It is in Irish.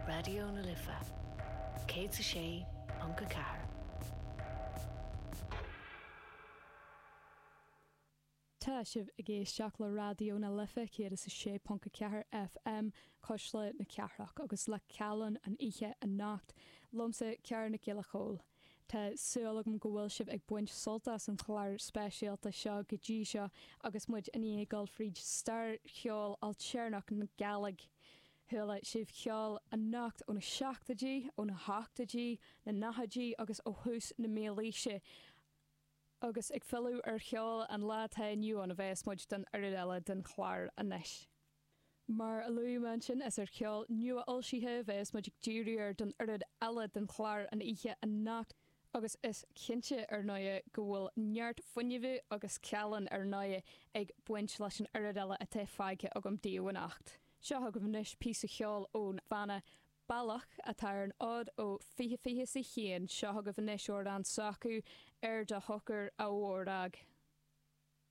Raidió na Life 106.4. Tá sibh ag éisteacht le Raidió na Life 106.4 FM, Cuisle na Cathrach, agus le Callán an oíche anocht, liomsa Ciara Nic Giolla Chóill. Tá súil agam go bhfuil sibh ag baint sult as an chlár speisialta seo go dtí seo agus muid i ndiaidh dul fríd stair cheol ailtéarnach na Gàidhlig. Chuala sibh ceol anocht ó na seachtóidí, ó na hochtóidí, na nóchaidí agus ó thús na mílaoise. Agus ag filleadh ar cheol an lá atá inniu ann a bheas muid don oiread eile den chlár anois. Mar a luaigh mé ansin, is ar cheol nua-fhoilsithe a bheas muid ag díriú air don oiread eile den chlár an oíche anocht, agus is cinnte, ar ndóighe, go bhfuil neart fuinnimh agus callán, ar ndóighe, ag baint leis an oiread eile atá fágtha agam daoibh anocht. Seo chugaibh anois píosa cheoil ón bhanna Bealach, atá ar an fhód ó 2021. Seo chugaibh anois amhrán s'acu, Ar do Shochar, a Mhòrag.